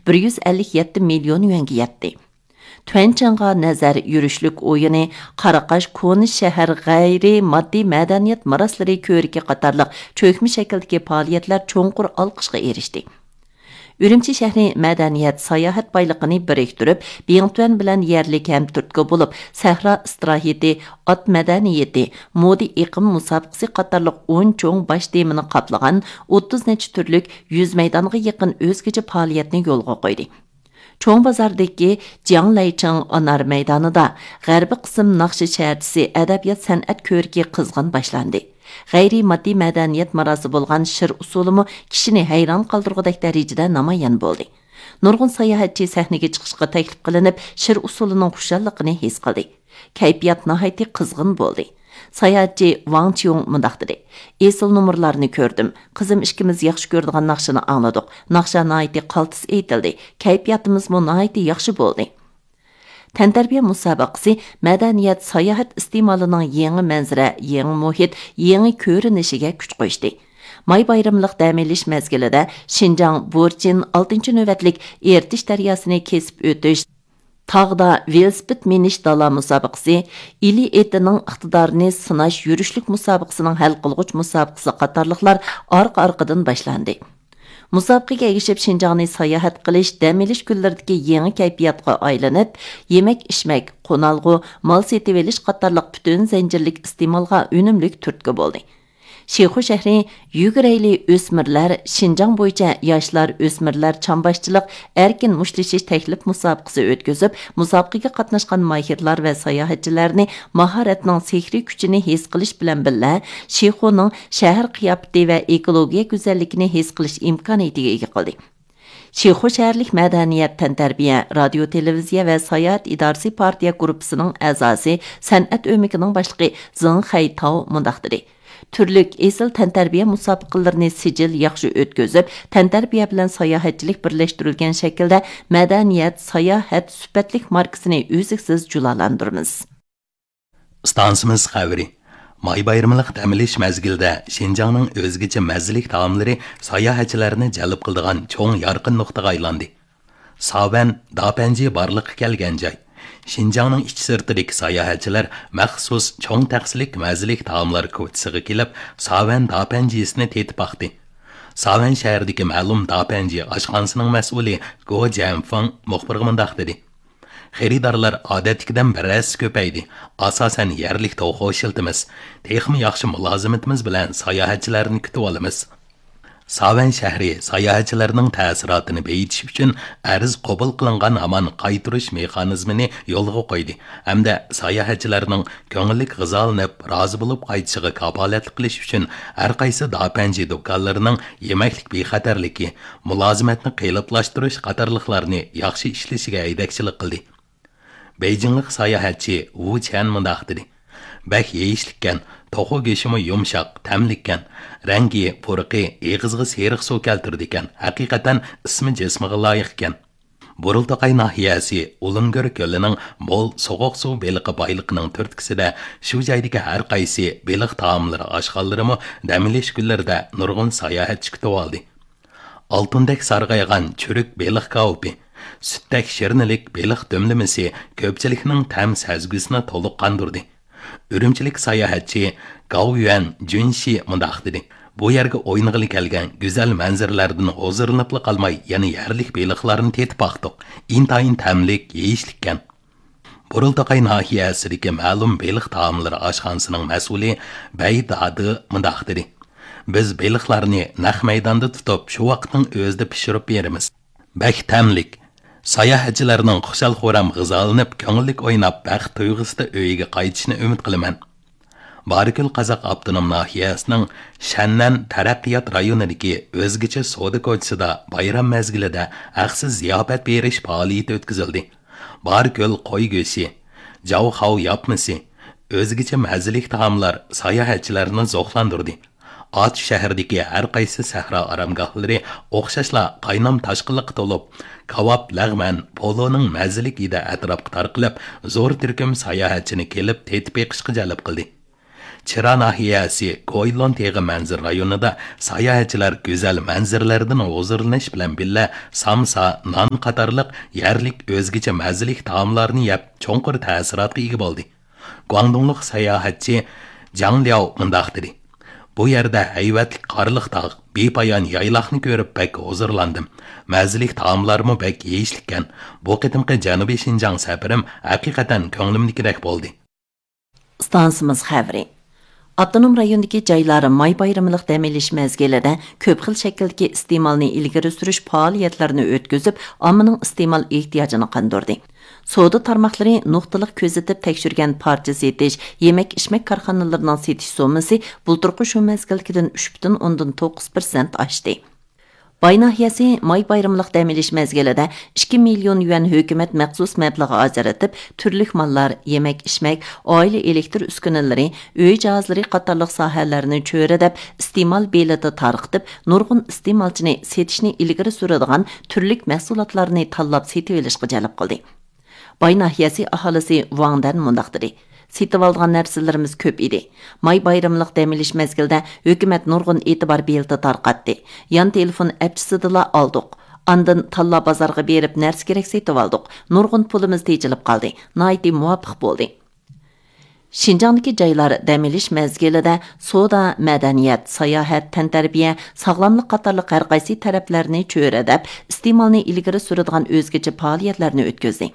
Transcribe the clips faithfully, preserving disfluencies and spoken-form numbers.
بىر يۈز ئەللىك يەتتە مىليون يۈەنگە يەتتى. تۈەنچىڭغا نەزەر يۈرۈشلۈك ئويۇنى، قاراقاش كونا شەھەر غەيرىي ماددىي مەدەنىيەت مىراسلىرى كۆرىكى قاتارلىق چۆكمە شەكىلدىكى پائالىيەتلەر چوڭقۇر ئالقىشقا ئېرىشتى. ئۈرۈمچى شەھىرى مەدەنىيەت، ساياھەت بايلىقىنى بىرىكتۈرۈپ، بىڭتۈەن بىلەن يەرلىك ھەم تۈرتكە بولۇپ، سەھرا ئىستىراھىتى، ئات مەدەنىيىتى، مودا ئېقىم مۇسابىقىسى قاتارلىق ئون چوڭ باش تېمىنى قاپلىغان ئوتتۇز نەچچە تۈرلۈك يۈز مەيدانغا يېقىن ئۆزگىچە پائالىيەتنى يولغا قويدى. چوڭ بازاردىكى جياڭلەيچىڭ ئانار مەيدانىدا غەربىي قىسىم ناخشا شەھەرچىسى ئەدەبىيات سەنئەت كۆرىكى قىزغىن باشلاندى. غەيرىي ماددىي مەدەنىيەت مىراسى بولغان شىر ئۇسسۇلىمۇ كىشىنى ھەيران قالدۇرغۇدەك دەرىجىدە نامايان بولدى. نۇرغۇن ساياھەتچى سەھنىگە چىقىشقا تەكلىپ قىلىنىپ، شىر ئۇسسۇلىنىڭ خۇشاللىقىنى ھېس قىلدى. كەيپىيات ناھايىتى قىزغىن بولدى. ساياھەتچى ۋاڭ چيۇڭ مۇنداق دېدى: «ئېسىل نومۇرلارنى كۆردۈم. قىزىم ئىككىمىز ياخشى كۆرىدىغان ناخشىنى ئاڭلىدۇق. ناخشا ناھايىتى قالتىس ئېيتىلدى. كەيپىياتىمىزمۇ ناھايىتى ياخشى بولدى.» تەنتەربىيە مۇسابىقىسى مەدەنىيەت، ساياھەت ئىستېمالىنىڭ يېڭى مەنزىرە، يېڭى مۇھىت، يېڭى كۆرۈنۈشىگە كۈچ قوشتى. ماي بايرىملىق دەم ئېلىش مەزگىلىدە شىنجاڭ بورچىن ئالتىنچى نۆۋەتلىك ئېرتىش دەرياسىنى كېسىپ ئۆتۈش، تاغدا ۋېلىسىپىت مىنىش دالا مۇسابىقىسى، ئىلى ئېتىنىڭ ئىقتىدارىنى سىناش يۈرۈشلۈك مۇسابىقىسىنىڭ ھەل قىلغۇچ مۇسابىقىسى قاتارلىقلار ئارقا-ئارقىدىن باشلاندى. مۇسابىقىگە ئەگىشىپ، شىنجاڭنى ساياھەت قىلىش، دەم ئېلىش كۈنلىرىدىكى يېڭى كەيپىياتقا ئايلىنىپ، يېمەك-ئىچمەك، قونالغۇ، مال سېتىۋېلىش قاتارلىق پۈتۈن زەنجىرلىك ئىستېمالغا ئۈنۈملۈك تۈرتكە بولدى. شىخۇ شەھىرى يۈگۈرەيلى ئۆسمۈرلەر شىنجاڭ بويىچە ياشلار، ئۆسمۈرلەر چامباشچىلىق ئەركىن مۇشتلىشىش تەكلىپ مۇسابىقىسى ئۆتكۈزۈپ، مۇسابىقىگە قاتناشقان ماھىرلار ۋە ساياھەتچىلەرنى ماھارەتنىڭ سېھرىي كۈچىنى ھېس قىلىش بىلەن بىللە، شىخۇنىڭ شەھەر قىياپىتى ۋە ئېكولوگىيە گۈزەللىكىنى ھېس قىلىش ئىمكانىيىتىگە ئىگە قىلدى. شىخۇ شەھەرلىك مەدەنىيەت، تەنتەربىيە، رادىيو، تېلېۋىزىيە ۋە ساياھەت ئىدارىسى پارتىيە گۇرۇپپىسىنىڭ ئەزاسى، سەنئەت ئۆمىكىنىڭ باشلىقى زېڭ خەيتاۋ مۇنداق دېدى: «تۈرلۈك ئېسىل تەنتەربىيە مۇسابىقىلىرىنى سىجىل ياخشى ئۆتكۈزۈپ، تەنتەربىيە بىلەن ساياھەتچىلىك بىرلەشتۈرۈلگەن شەكىلدە مەدەنىيەت، ساياھەت سۈپەتلىك ماركىسىنى ئۈزلۈكسىز جۇلالاندۇرىمىز.» ئىستانسىمىز خەۋىرى. ماي بايرىملىق دەم ئېلىش مەزگىلىدە شىنجاڭنىڭ ئۆزگىچە مەززىلىك تائاملىرى ساياھەتچىلەرنى جەلپ قىلىدىغان چوڭ يارقىن نۇقتىغا ئايلاندى. ساۋەن داپەنجى بارلىققا كەلگەن جاي. شىنجاڭنىڭ ئىچى سىرتىدىكى ساياھەتچىلەر مەخسۇس چوڭ تەخسىلىك مەززىلىك تائاملار كوچىسىغا كېلىپ، ساۋەن داپەنجىسىنى تېتىپ باقتى. ساۋەن شەھىرىدىكى مەلۇم داپەنجى ئاشخانىسىنىڭ مەسئۇلى گو جيەنفېڭ مۇخبىرغا مۇنداق دېدى: «خېرىدارلار ئادەتتىكىدىن بىر ھەسسە كۆپەيدى. ئاساسەن يەرلىك توخۇ ئىشلىتىمىز. تېخىمۇ ياخشى مۇلازىمىتىمىز بىلەن ساياھەتچىلەرنى كۈتۈۋالىمىز.» ساۋەن شەھىرى ساياھەتچىلەرنىڭ تەسىراتىنى بېيىتىش ئۈچۈن ئەرز قوبۇل قىلىنغان ھامان قايتۇرۇش مېخانىزمىنى يولغا قويدى ھەمدە ساياھەتچىلەرنىڭ كۆڭۈللۈك غىزالىنىپ، رازى بولۇپ قايتىشىغا كاپالەتلىك قىلىش ئۈچۈن ھەر قايسى داپەنجى دۇكانلىرىنىڭ يېمەكلىك بىخەتەرلىكى، مۇلازىمەتنى قېلىپلاشتۇرۇش قاتارلىقلارنى ياخشى ئىشلىشىگە ھەيدەكچىلىك قىلدى. بېيجىڭلىق ساياھەتچى ۋۇ چيەن مۇنداق دېدى: «بەك يېيىشلىككەن، توخۇ گۆشىمۇ يۇمشاق، تەملىككەن. رەڭگى، پۇرىقى ئېغىزغا سېرىق سۇ كەلتۈرىدىكەن. ھەقىقەتەن ئىسمى جىسمىغا لايىقكەن.» بۇرۇلتاقاي ناھىيەسى ئۇلۇنگۆر كۆلىنىڭ مول سوغۇق سۇ بېلىقى بايلىقىنىڭ تۈرتكىسىدە شۇ جايدىكى ھەر قايسى بېلىق تائاملىرى ئاشخانىلىرىمۇ دەم ئېلىش كۈنلىرىدە نۇرغۇن ساياھەتچى كۈتۈۋالدى. ئالتۇندەك سارغايغان چۈرۈك بېلىق كاۋىپى، سۈتتەك شىرنىلىك بېلىق دۈملىمىسى كۆپچىلىكنىڭ تەم سەزگۈسىنى تولۇق قاندۇردى. ئۈرۈمچىلىك ساياھەتچى گاۋيۈەن جۈنشى مۇنداق دېدى: «بۇ يەرگە ئوينىغىلى كەلگەن گۈزەل مەنزىرىلەردىن ھۇزۇرلىنىپلا قالماي، يەنە يەرلىك بېلىقلارنى تېتىپ باقتۇق. ئىنتايىن تەملىك، يېيىشلىككەن.» بۇرۇلتاقاي ناھىيەسىدىكى مەلۇم بېلىق تائاملىرى ئاشخانىسىنىڭ مەسئۇلى بەي دادى مۇنداق دېدى: «بىز بېلىقلارنى نەق مەيداندا تۇتۇپ، شۇ ۋاقىتنىڭ ئۆزىدە پىشۇرۇپ بېرىمىز. بەك تەملىك. ساياھەتچىلەرنىڭ خۇشال-خۇرام غىزالىنىپ، كۆڭۈللۈك ئويناپ، بەخت تۇيغۇسىدا ئۆيىگە قايتىشىنى ئۈمىد قىلىمەن.» بارىكۆل قازاق ئاپتونوم ناھىيەسىنىڭ شەننەن تەرەققىيات رايونىدىكى ئۆزگىچە سودا كوچىسىدا بايرام مەزگىلىدە ھەقسىز زىياپەت بېرىش پائالىيىتى ئۆتكۈزۈلدى. بارىكۆل قوي گۆشى، جاۋخاۋ ياپمىسى، ئۆزگىچە مەززىلىك تائاملار ساياھەتچىلەرنى زوقلاندۇردى. ئاتۇش شەھىرىدىكى ھەر قايسى سەھرا ئارامگاھلىرى ئوخشاشلا قاينام تاشقىنلىققا تولۇپ، كاۋاپ، لەغمەن، پولۇنىڭ مەززىلىك ھىدى ئەتراپقا تارقىلىپ، زور تۈركۈم ساياھەتچىنى كېلىپ تېتىپ بېقىشقا جەلپ قىلدى. چىرا ناھىيەسى گويلون تېغى مەنزىرە رايونىدا ساياھەتچىلەر گۈزەل مەنزىرىلەردىن ھۇزۇرلىنىش بىلەن بىللە، سامسا، نان قاتارلىق يەرلىك ئۆزگىچە مەززىلىك تائاملارنى يەپ، چوڭقۇر تەسىراتقا ئىگە بولدى. گۇاڭدۇڭلۇق ساياھەتچى جاڭ لياۋ مۇنداق دېدى: «بۇ يەردە ھەيۋەتلىك قارلىق تاغ، بىپايان يايلاقنى كۆرۈپ بەك ھۇزۇرلاندىم. مەززىلىك تائاملارمۇ بەك يېيىشلىككەن. بۇ قېتىمقى جەنۇبىي شىنجاڭ سەپىرىم ھەقىقەتەن كۆڭلۈمدىكىدەك بولدى.» ئىستانسىمىز خەۋىرى. ئاپتونوم رايوندىكى جايلار ماي بايرىملىق دەم ئېلىش مەزگىلىدە كۆپ خىل شەكىلدىكى ئىستېمالنى ئىلگىرى سۈرۈش پائالىيەتلىرىنى ئۆتكۈزۈپ، ئاممىنىڭ ئىستېمال ئېھتىياجىنى قاندۇردى. سودا تارماقلىرى نۇقتىلىق كۆزىتىپ تەكشۈرگەن پارچە سېتىش، يېمەك-ئىچمەك كارخانىلىرىنىڭ سېتىش سوممىسى بۇلتۇرقى شۇ مەزگىلدىكىدىن ئۈچ پۈتۈن ئوندىن توققۇز پىرسەنت ئاشتى. باي ناھىيەسى ماي بايرىملىق دەم ئېلىش مەزگىلىدە ئىككى مىليون يۈەن ھۆكۈمەت مەخسۇس مەبلىغى ئاجرىتىپ، تۈرلۈك ماللار، يېمەك-ئىچمەك، ئائىلە ئېلېكتىر ئۈسكۈنىلىرى، ئۆي جاھازلىرى قاتارلىق ساھەلەرنى چۆرىدەپ، ئىستېمال بېلىتى تارقىتىپ، نۇرغۇن ئىستېمالچىنى سېتىشنى ئىلگىرى سۈرىدىغان تۈرلۈك مەھسۇلاتلارنى تاللاپ سېتىۋېلىشقا جەلپ قىلدى. باي ناھىيەسى ئاھالىسى ۋاڭ دەن مۇنداق دېدى: «سېتىۋالىدىغان نەرسىلىرىمىز كۆپ ئىدى. ماي بايرىملىق دەم ئېلىش مەزگىلىدە ھۆكۈمەت نۇرغۇن ئېتىبار بېلىتى تارقاتتى. يان تېلېفون ئەپچىسىدىلا ئالدۇق. ئاندىن تاللا بازارغا بېرىپ نەرسە كېرەك سېتىۋالدۇق. نۇرغۇن پۇلىمىز تېجىلىپ قالدى. ناھايىتى مۇۋاپىق بولدى.» شىنجاڭدىكى جايلار دەم ئېلىش مەزگىلىدە سودا، مەدەنىيەت، ساياھەت، تەنتەربىيە، ساغلاملىق قاتارلىق ھەرقايسى تەرەپلەرنى چۆرىدەپ، ئىستېمالنى ئىلگىرى سۈرىدىغان ئۆزگىچە پائالىيەتلەرنى ئۆتكۈزدى.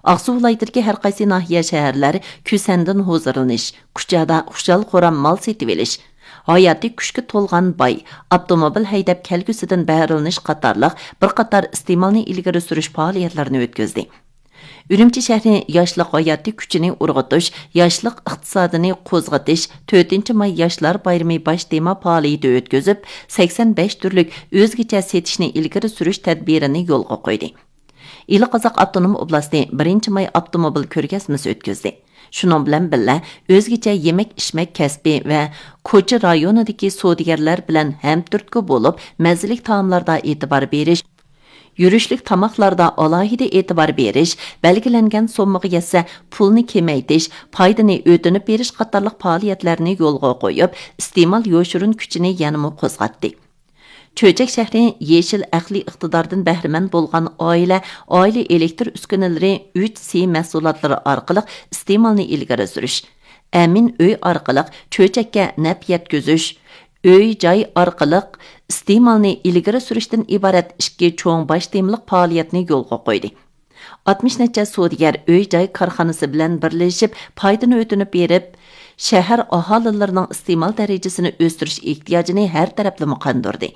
ئاقسۇ ۋىلايىتىدىكى ھەرقايسى ناھىيە، شەھەرلەر كۈسەندىن ھۇزۇرلىنىش، كۇچادا خۇشال-خۇرام مال سېتىۋېلىش، ھاياتىي كۈچكە تولغان باي، ئاپتوموبىل ھەيدەپ كەلگۈسىدىن بەھرىلىنىش قاتارلىق بىر قاتار ئىستېمالنى ئىلگىرى سۈرۈش پائالىيەتلىرىنى ئۆتكۈزدى. ئۈرۈمچى شەھىرى ياشلىق ھاياتىي كۈچىنى ئۇرغۇتۇش، ياشلىق ئىقتىسادىنى قوزغىتىش تۆتىنچى ماي ياشلار بايرىمى باش تېما پائالىيىتى ئۆتكۈزۈپ، سەكسەن بەش تۈرلۈك ئۆزگىچە سېتىشنى ئىلگىرى سۈرۈش تەدبىرىنى يولغا قويدى. ئىلى قازاق ئاپتونوم ئوبلاستى بىرىنچى ماي ئاپتوموبىل كۆرگەزمىسى ئۆتكۈزدى. شۇنىڭ بىلەن بىللە، ئۆزگىچە يېمەك-ئىچمەك كەسپى ۋە كوچا رايونىدىكى سودىگەرلەر بىلەن ھەمتۈرتكە بولۇپ، مەززىلىك تائاملاردا ئېتىبار بېرىش، يۈرۈشلۈك تاماقلاردا ئالاھىدە ئېتىبار بېرىش، بەلگىلەنگەن سوممىغا يەتسە پۇلنى كېمەيتىش، پايدىنى ئۆتۈنۈپ بېرىش قاتارلىق پائالىيەتلەرنى يولغا قويۇپ، ئىستېمال يوشۇرۇن كۈچىنى يەنىمۇ قوزغاتتى. چۆچەك شەھىرى يېشىل ئەقلىي ئىقتىداردىن بەھرىمەن بولغان ئائىلە، ئائىلە ئېلېكتىر ئۈسكۈنىلىرى ئۈچ سى مەھسۇلاتلىرى ئارقىلىق ئىستېمالنى ئىلگىرى سۈرۈش، ئەمىن ئۆي ئارقىلىق چۆچەككە نەپ يەتكۈزۈش، ئۆي جاي ئارقىلىق ئىستېمالنى ئىلگىرى سۈرۈشتىن ئىبارەت ئىككى چوڭ باش تېمىلىق پائالىيەتنى يولغا قويدى. ئاتمىش نەچچە سودىگەر ئۆي جاي كارخانىسى بىلەن بىرلىشىپ پايدىنى ئۆتۈنۈپ بېرىپ، شەھەر ئاھالىلىرىنىڭ ئىستېمال دەرىجىسىنى ئۆستۈرۈش ئېھتىياجىنى ھەر تەرەپلىمە قاندۇردى.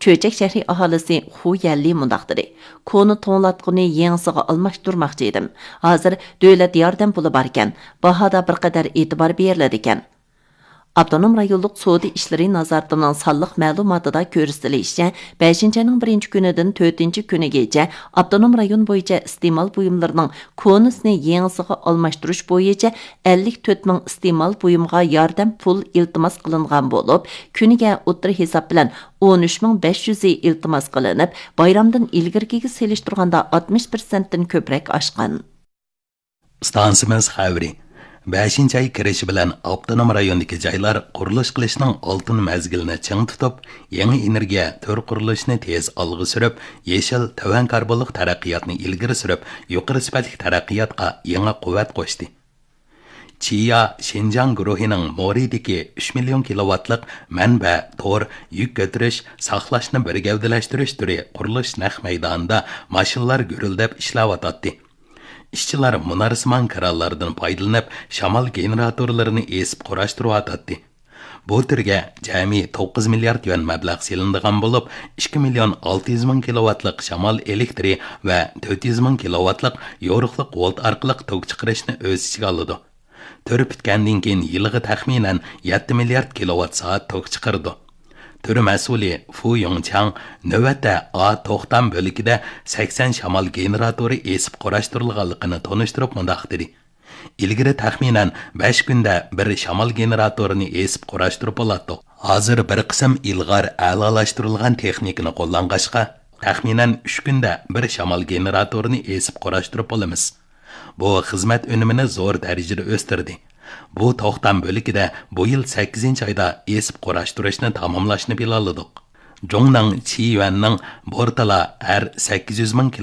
چۆچەك شەھىرى ئاھالىسى خۇ يەنلى مۇنداق دېدى: «كونا توڭلاتقۇنى يېڭىسىغا ئالماشتۇرماقچى ئىدىم. ھازىر دۆلەت ياردەم پۇلى باركەن، باھادا بىر قەدەر ئېتىبار بېرىلىدىكەن.» ئاپتونوم رايونلۇق سودا ئىشلىرى نازارىتىنىڭ سانلىق مەلۇماتىدا كۆرسىتىلىشىچە، بەشىنچى ئاينىڭ بىرىنچى كۈنىدىن تۆتىنچى كۈنىگىچە ئاپتونوم رايون بويىچە ئىستېمال بۇيۇملىرىنىڭ كونىسىنى يېڭىسىغا ئالماشتۇرۇش بويىچە ئەللىك تۆت مىڭ ئىستېمال بۇيۇمغا ياردەم پۇل ئىلتىماس قىلىنغان بولۇپ، كۈنىگە ئوتتۇرا ھېساب بىلەن ئون ئۈچ مىڭ بەش يۈزى ئىلتىماس قىلىنىپ، بايرامدىن ئىلگىرىكىگە سېلىشتۇرغاندا ئاتمىش پىرسەنتتىن كۆپرەك ئاشقان. ئىستانسىمىز خەۋىرى. بەشىنچى ئاي كىرىشى بىلەن ئاپتونوم رايوندىكى جايلار قۇرۇلۇش قىلىشنىڭ ئالتۇن مەزگىلىنى چىڭ تۇتۇپ، يېڭى ئېنېرگىيە تۈر قۇرۇلۇشىنى تېز ئالغا سۈرۈپ، يېشىل، تۆۋەن كاربونلۇق تەرەققىياتنى ئىلگىرى سۈرۈپ، يۇقىرى سۈپەتلىك تەرەققىياتقا يېڭى قۇۋۋەت قوشتى. چىيا شىنجاڭ گۇرۇھىنىڭ مورىدىكى ئۈچ مىليون كىلوۋاتلىق مەنبە، تور، يۈك كۆتۈرۈش، ساقلاشنى بىر گەۋدىلەشتۈرۈش تۈرى قۇرۇلۇش نەق مەيدانىدا ماشىنىلار گۈرۈلدەپ ئىشلەۋاتاتتى. ئىشچىلار مۇنارسىمان كرانلاردىن پايدىلىنىپ، شامال گېنېراتورلىرىنى ئېسىپ قۇراشتۇرۇۋاتاتتى. بۇ تۈرگە جەمئىي توققۇز مىليارد يۈەن مەبلەغ سېلىنىدىغان بولۇپ، ئىككى مىليون ئالتە يۈز مىڭ كىلوۋاتلىق شامال ئېلېكتىرى ۋە تۆت يۈز مىڭ كىلوۋاتلىق يورۇقلۇق ۋولت ئارقىلىق توك چىقىرىشنى ئۆز ئىچىگە ئالىدۇ. تۈر پۈتكەندىن كېيىن يىلىغا تەخمىنەن يەتتە مىليارد كىلوۋات سائەت توك چىقىرىدۇ. تۈر مەسئۇلى فۇ يۇڭچاڭ نۆۋەتتە ئا توختام بۆلىكىدە سەكسەن شامال گېنېراتورى ئېسىپ قۇراشتۇرۇلغانلىقىنى تونۇشتۇرۇپ مۇنداق دېدى: «ئىلگىرى تەخمىنەن بەش كۈندە بىر شامال گېنېراتورىنى ئېسىپ قۇراشتۇرۇپ بولاتتۇق. ھازىر بىر قىسىم ئىلغار ئەلالاشتۇرۇلغان تېخنىكىنى قوللانغاچقا، تەخمىنەن ئۈچ كۈندە بىر شامال گېنېراتورىنى ئېسىپ قۇراشتۇرۇپ بولىمىز.» بۇ خىزمەت ئۈنۈمىنى زور دەرىجىدە ئۆستۈردى. بۇ توختام بۆلىكىدە بۇ يىل سەككىزىنچى ئايدا ئېسىپ قۇراشتۇرۇشنى تاماملاشنى پىلانلىدۇق. جۇڭنىڭ، چىيۈەننىڭ بورتىلا ھەر سەككىز يۈز مىڭ